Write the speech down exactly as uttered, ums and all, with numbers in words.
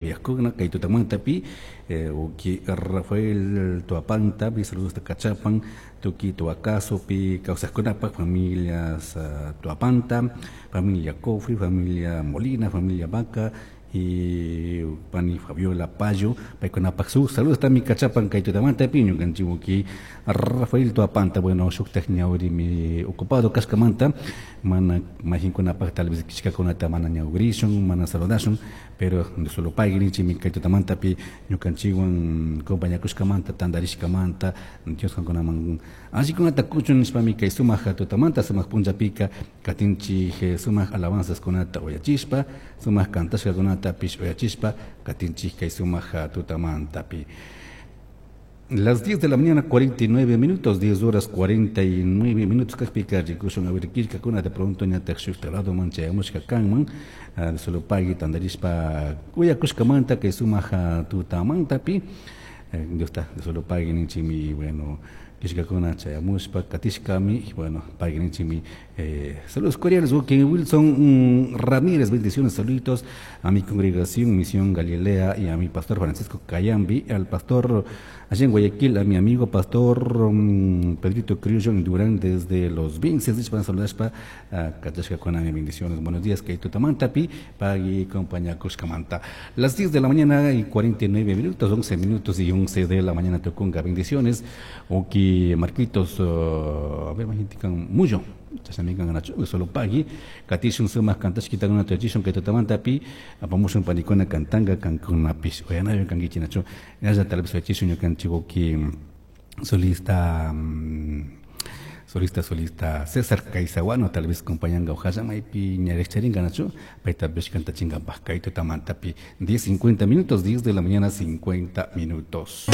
Uyajkuna kay tutamantapi uki Rafael Tuapanta saludos hasta Cachapan tuki Tuacasopi kawsaqkunapak familias Tuapanta, familia Cofre, familia Molina, familia Vaca y pani Fabiola Payo paykunapak su saludos también Cachapan kay tutamantapi ñukanchik uki Rafael Tuapanta. Bueno, shuktak ñawrimi ocupado kashkamanta mana mayqinkunapak tal vez killkakunata mana ñawrishun, mana saludashun, pero solo pagui ninchikmi kay tutamantapi ñukanchikwan compañakushkamanta, tantarishkamanta. Dios kankunaman allikunata kuchun nishpami kay sumak tutamanta, sumak punllapika katinchik sumak alabanzaskunata uyachishpa, sumak kantashkakunatapish uyachishpa katinchik kay sumak tutamantapi. Las diez de la mañana cuarenta y nueve minutos, diez horas cuarenta y nueve minutos kajpika rikushun a ver killkakuna de pronto ñatak shukta ladoman chayamushka kanman. Solo pagui tantarishpa uyakushkamanta kay sumak tutamantapi. Dios ta solo pagui ninchikmi. Bueno, killkakuna chayamushpa katishkami. Bueno, pagui ninchikmi. Eh, saludos cordiales, Wilson Ramírez, bendiciones, saluditos a mi congregación Misión Galilea y a mi pastor Francisco Cayambi, al pastor allá en Guayaquil, a mi amigo pastor um, Pedrito Criollo en Durán desde los Vinces, para saludar con mi bendiciones, buenos días, kay tutamantapi, pagui compañía Cuscamanta. Las diez de la mañana y cuarenta y nueve minutos, once minutos y once de la mañana tukunga, bendiciones, uki Marquitos, uh, a ver, mucho chashnami solo pagui katishun sumak kantashkitakuna tuyachishun kay tutamantapi apamushun panikuna kantanga kankunapish uyanayo kankichik nachu ñalla tal vez uyachishun ñukanchik uki solista um, solista solista César Caizahuano tal vez compañanga ojalla maypi ñariqcharinga nachu paytapish kantachinkapak kay tutamantapi. diez cincuenta minutos, diez de la mañana cincuenta minutos.